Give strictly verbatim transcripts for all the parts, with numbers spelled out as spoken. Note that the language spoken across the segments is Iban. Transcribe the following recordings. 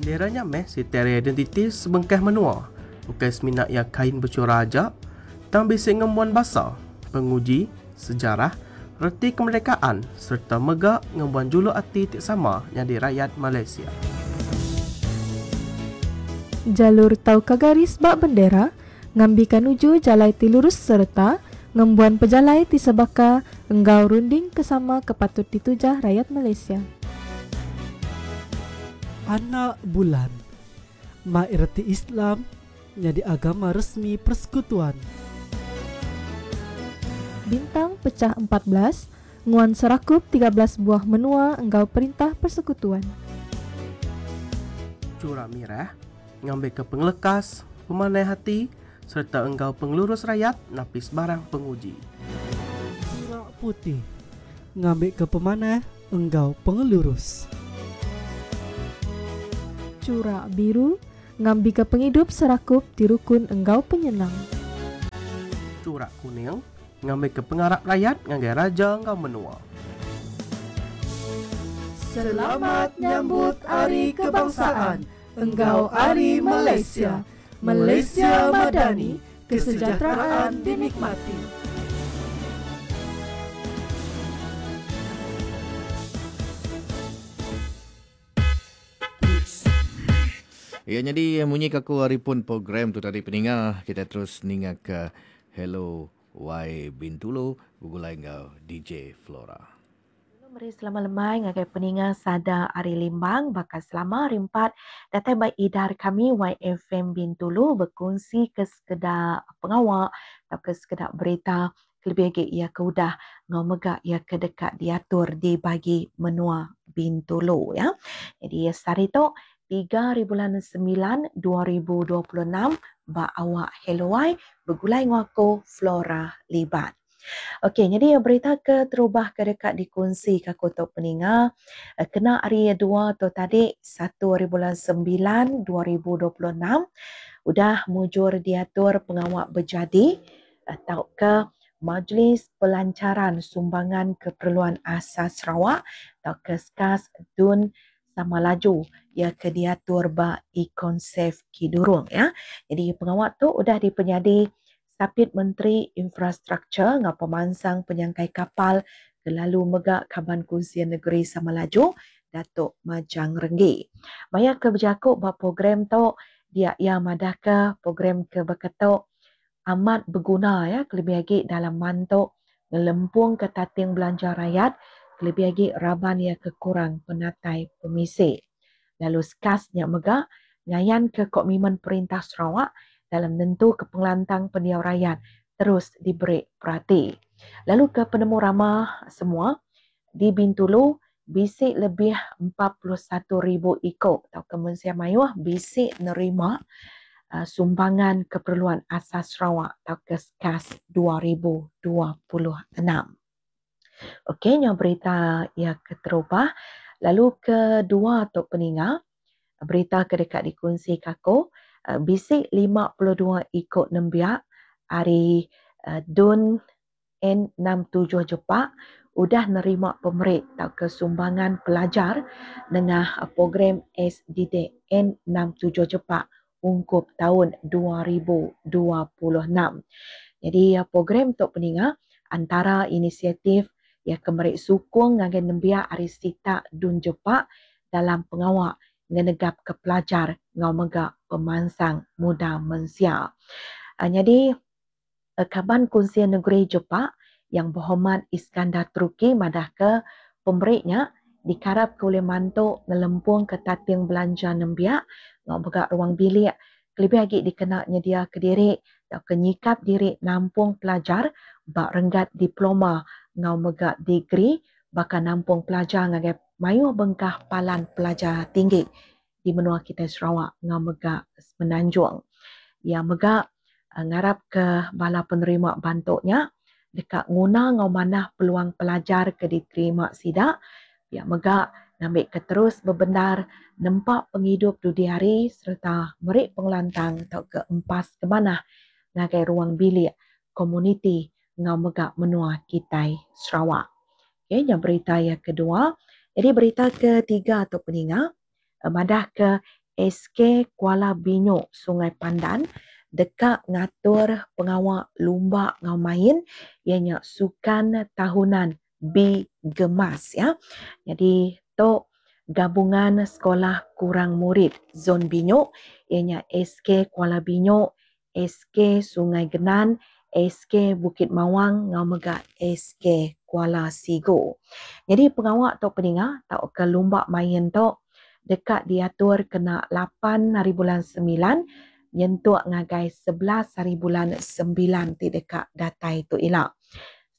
Bendera nya meh siti ari identiti sebengkah menua. Ukai semina iya kain bechura aja, tang bisi ngembuan basa, penguji, sejarah, reti kemerdekaan sereta mega ngembuan juluk ati ti sama nyadi rayat Malaysia. Jalur tauka garis ba bendera ngambika nuju jalai ti lurus sereta ngembuan pejalai ti sebaka enggau runding ke sama ke patut ditujah rayat Malaysia. Anak bulan. Mai reti Islam nyadi agama resmi persekutuan. Bintang pechah empat belas, nguan serakup tiga belas buah menua enggau perintah persekutuan. Chura mirah ngambika pengelekas, pemanah ati sereta enggau pengelurus rayat napis barang penguji. Chura putih ngambika pemanah enggau pengelurus. Chura biru ngambika pengidup serakup ti rukun enggau penyenang. Chura kuning ngambika pengarap rakyat ngagai raja enggau menua. Selamat nyambut Hari Kebangsaan enggau Hari Malaysia. Malaysia Madani, kesejahteraan dinikmati. Ya, jadi munyi aku hari pun program tu tadi peninga, kita terus ninga ke Hello Y Bintulu begulai enggau D J Flora. Meri selamat lemai ngagai peninga sada Ari Limbang bakal selama hari empat datai ba idar kami Y F M Bintulu berkongsi ke sekedar pengawak atau ke sekedar berita kelebih lagi ia ke udah ngau mega ia ke dekat diatur di bagi menua Bintulu ya. Jadi sehari tu tiga hari bulan sembilan dua ribu dua puluh enam ba awak Hello Y begulai ngau Flora Libat. Okey, jadi berita ke terubah ke dekat dikongsi ke aku tok peninga kena hari dua tu tadi satu hari bulan sembilan dua ribu dua puluh enam udah mujur diatur pengawak berjadi atau ke Majlis Pelancaran Sumbangan Keperluan Asas Sarawak atau ke SKAS Dun Sama Laju ya ke diatur ba Econsave Kidurong ya. Jadi pengawak tu udah dipenyadi Sapit Menteri Infrastruktur ngau Pemansang Penyangkai Kapal ke lalu mega Kaban Kunsian Negeri Sama Laju Datuk Majang Renggi. Maya ke berjakuk ba program tu dia ia madah ke program ke berketuk amat berguna ya kelebih lagi dalam mantuk ngelempung ke tating belanja rakyat kelebih lagi raban ia kekurang penatai pemisi. Lalu skasnya mega ngayan ke komitmen perintah Sarawak dalam nentu ke pengelantang pendiau rakyat terus diberi perhati. Lalu ke penemu ramah semua di Bintulu bisik lebih empat puluh satu ribu ikut atau ke Mensia Mayuh bisik nerima, uh, sumbangan keperluan asas Sarawak atau ke SKAS dua ribu dua puluh enam. Okey, nyo berita ya keterubah. Lalu kedua tok peninga, berita ke dekat dikongsi kako, uh, bisik lima puluh dua ikut nembiak hari, uh, Dun N enam tujuh Jepak udah nerima pemerik atau ke sumbangan pelajar nengah program S D D N enam tujuh Jepak ungkup tahun dua ribu dua puluh enam. Jadi program tok peninga antara inisiatif ya kemerik sukung ngagai nembiak ari sita Dun Jepak dalam pengawak ngenegap ke pelajar ngau mega pemansang muda mensia. Uh, jadi, uh, Kaban Kunsian Negeri Jepak yang berhormat Iskandar Turki madah ke pemeriknya dikarap ke oleh mantuk ngelempung ke tating belanja nembiak ngau mega ruang bilik kelebih lagi dikena nyedia ke diri atau ke nyikap diri nampung pelajar bak renggat diploma ngau mega degree bahkan nampung pelajar ngagai mayuh bengkah palan pelajar tinggi di menua kita Sarawak ngau mega Semenanjung. Ia mega, eh, ngarap ke bala penerima bantuknya dekat nguna ngau manah peluang pelajar ke diterima sidak. Ia mega ngambil ke terus berbendar nempak penghidup dudi hari serta merik pengelantang atau ke empas ke manah ngagai ruang bilik komuniti ngau mega menua kitai Sarawak. Okey, yang berita yang kedua. Jadi berita ketiga atau peninga, eh, madah ke S K Kuala Binyuk Sungai Pandan deka ngatur pengawa lumba ngau main ianya sukan tahunan B Gemas ya. Jadi tu gabungan sekolah kurang murid Zon Binyuk ianya S K Kuala Binyuk, S K Sungai Genan, S K Bukit Mawang ngau mega S K Kuala Sigu. Jadi pengawak tu peninga tau ke lumba main tu dekat diatur kena lapan hari bulan sembilan nyentuk ngagai sebelas hari bulan sembilan ti dekat datai tu ila.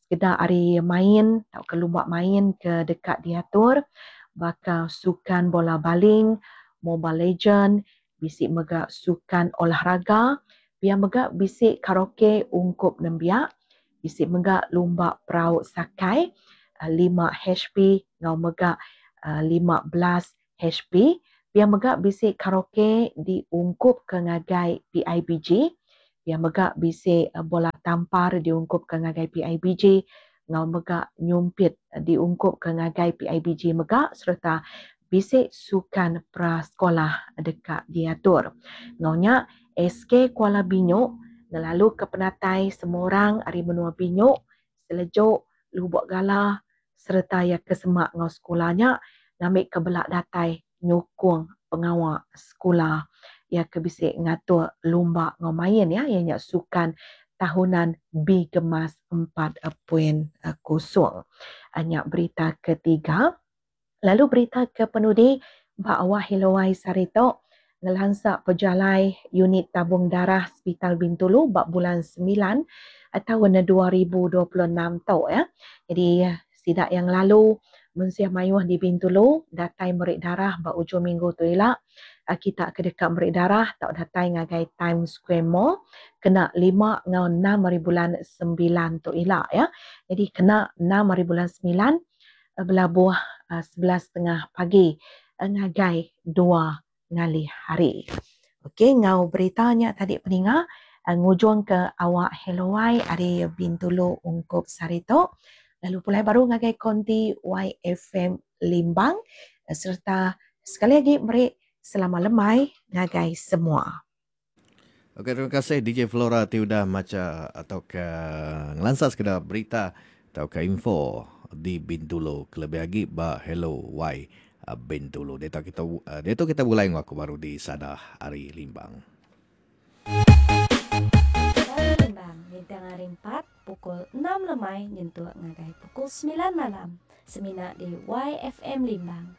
Sekedar hari main tau ke lumba main ke dekat diatur bakal sukan bola baling, Mobile Legend, bisik mega sukan olahraga, pia mega bisik karaoke ungkup nembiak, bisik mega lumba perahu sakai lima H P ngau mega lima belas H P, pia mega bisik karaoke diungkup ke ngagai P I B G, pia mega bisik bola tampar diungkup ke ngagai P I B G, ngau mega nyumpit diungkup ke ngagai P I B G mega serta bisik sukan prasekolah dekat diatur. Ngaunya S K Kuala Binyuk ngelalu ke penatai semua orang ari menua Binyuk, Selejuk, Lubuk Gala serta ya kesemak ngau sekolahnya ngambil ke belak datai nyukung pengawak sekolah ya ke bisik ngatur lumba ngau main ya ianya sukan tahunan B Gemas empat poin kosong. Hanya berita ketiga. Lalu berita ke penudi bawah Hilowai Sarito ngelansak pejalai unit tabung darah Hospital Bintulu bak bulan sembilan tahun dua ribu dua puluh enam tau ya. Jadi sidak yang lalu mensiah mayuh di Bintulu datai merik darah bak ujung minggu tu ila. Kita ke dekat merik darah tak datai ngagai Times Square Mall kena lima ngau enam hari bulan sembilan tu ila ya. Jadi kena enam hari bulan sembilan belabuh sebelas setengah pagi ngagai dua ngalih hari. Okey, ngau beritanya tadi peninga ngujung ke awak Helowai ari Bintulu ungkup sarito. Lalu pulai baru ngagai konti Y F M Limbang serta sekali lagi meri selamat lemai ngagai semua. Okey, terima kasih D J Flora ti udah maca atau ke ngelansa sekedar berita atau ke info di Bintulu kelebih lagi ba Hello Y Bintulu. Dia tahu kita, dia tahu kita mulai ngaku baru di Sada Ari Limbang. Ari Limbang bintang hari empat pukul enam lemai nyentuh ngagai pukul sembilan malam. Semina di Y F M Limbang.